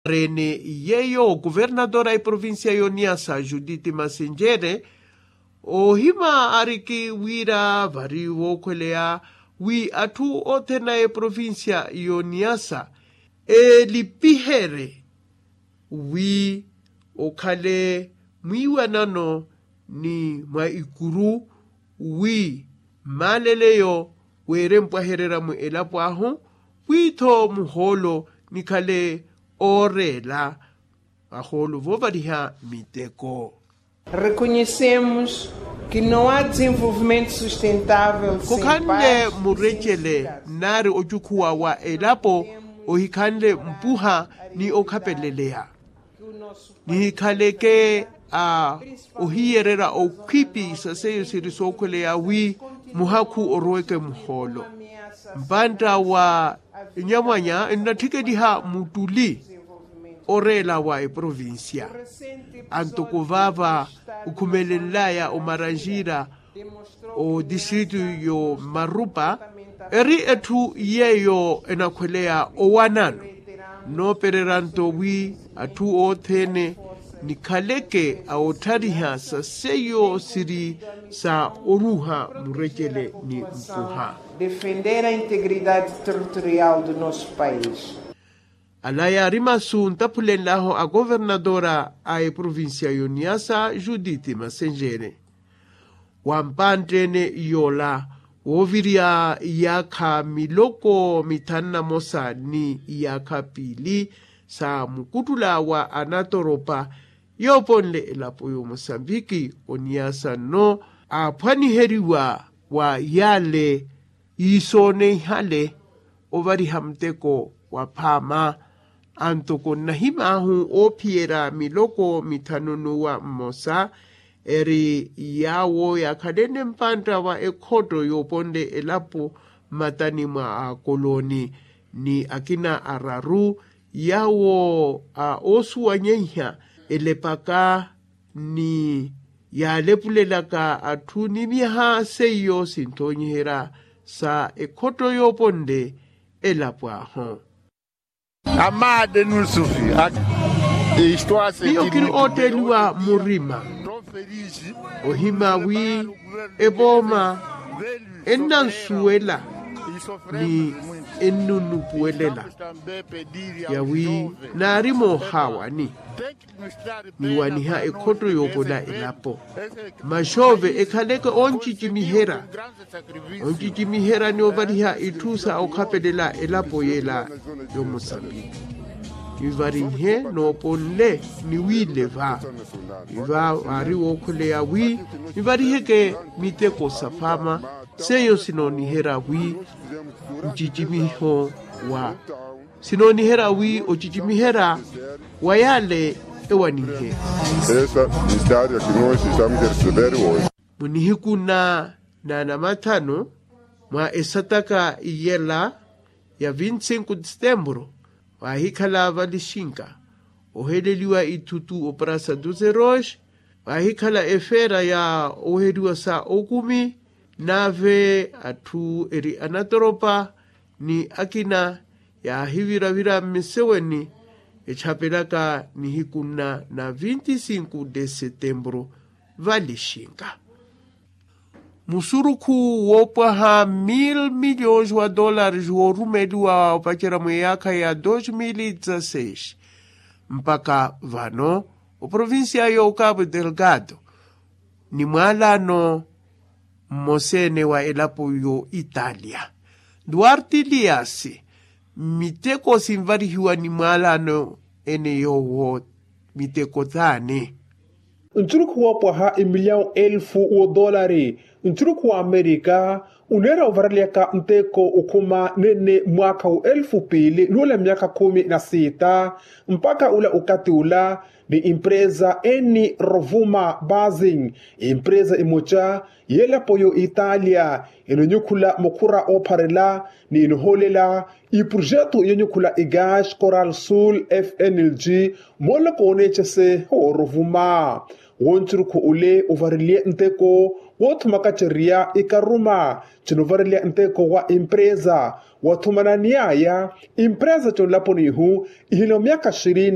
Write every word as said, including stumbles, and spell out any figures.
Ene yeeyo kuvernadora a eprovincia y'oniyasa judith masenjere, ohima ariki wira vari vookhweleya wi atthu othene a eprovincia y'oniyasa elipihere wi okhale mwiiwanano ni mwa ikuru wi mmaleleyo weerempwahererya mu elapo ahu, wi-tho muhoolo nikhale ooreela ahoolo voovaliha miteko. Reconhecemos que não há desenvolvimento sustentável. Khukhanle murecele nari ocukhuwa wa elapo ohikhanle mpuha ni okhapeleleya. Nihikhaleke a ohiyererya okhwipi sa seiyo siri sookhweleya wi muhakhu oroweke muhoolo. Mpantta wa enyamwanya ennatthikeliha muttuli oreela wa eprovincia. Antoko vaava okhumelenlaya omaranjira otistritu yo marupa eri etthu yeeyo enakhweleya owanano noopererya nto wi atthu othene nikhaleke a otthariha sa seiyo siri sa oruha murecele ni mpuha. Defender a integridade territorial do nosso país. Ala yaari masu ntaphulenlahu a governadora a eprovincia y'oniyasa judith masenjere. Wa mpanttene yoola woovirya iyaakha miloko mithanu na mosa ni iyaakha piili sa mukuttula wa anatoropa yooponle elapo y'omosambiki oniyasa nno aaphwaniheriwa wa yale yiisooneihale ovariha muteko wa phaama. Antoko nnahim'ahu oophiyerya miloko mithanu n'uwa mmosa eri yaawo yaakhalene mpantta wa ekhotto yooponle elapo mmatani mwa akolooni ni akina araru yaawo a oosuwanyeiha elepaka ni yaalepulelaka atthu ni myaha seiyo sinthoonyiherya sa ekhotto yooponle elapo ahu. Amade nusufi. Miyo kiri ootteeliwa murima ohima wi epooma ennansuwela ni ennunupuwelela yawi naari moohaawani niwaniha ekhotto yoopola elapo. Maxoove ekhaleke oncicimiherya oncicimiherya ni ovariha itthu sa okhapelela elapo yela y'omosambiki. Nivarihe nooponle niwiile va iva vaari wookhweleya wi nivariheke miteko sa phaama seiyo sinooniherya wi ncicimiho wa sinooniherya wi ocicimiherya wa yale ewanihe. Esta história que nós estamos a receber hoje. Munihiku na na namathanu mwa esataka iyela ya vinti sinku de setembro waahikhala valixinka oheleliwa ithutu oprasa doze rois waahikhala efeera ya oweheriwa sa okumi nave atthu eri anatoropa ni akina yaahiviravira mmiseweni etthapelaka nihiku nna na vinti sinku de setembro valixinka. Musurukhu woopwaha mil miliyons wa dollares woorumeliwa opacerya mweyaakha ya dos mil dezasseis mpakha vano oprovincia yo cabo delgado ni mwaalano mmoseene wa elapo yo italia duarte liasi miteko sinvarihiwa ni mwaalano ene yoowo miteko taani. Nsurukhu woopwaha emiliyawu elfu woodoolari nsurukhu wa amerika uneera ovareliyaka nteko okhuma nene mwaakha wa elfu piili nuula myaakha khumi na siita mpakha ula okathi ula ni empresa eni rovuma basing empresa emoca y'elapo yo italia enonyukhula mukhura oopharela ni enohoolela iprojeto yonyukhula egas coral sul fnlg mooloko oneecese wooruvuma wonsurukhu ole ovareliye nteko woothumakacerya ekaruma cinovareliya nteko wa empresa Wothumananiy'aya, empresa t'onlaponi ihu ihina omyaka xirini.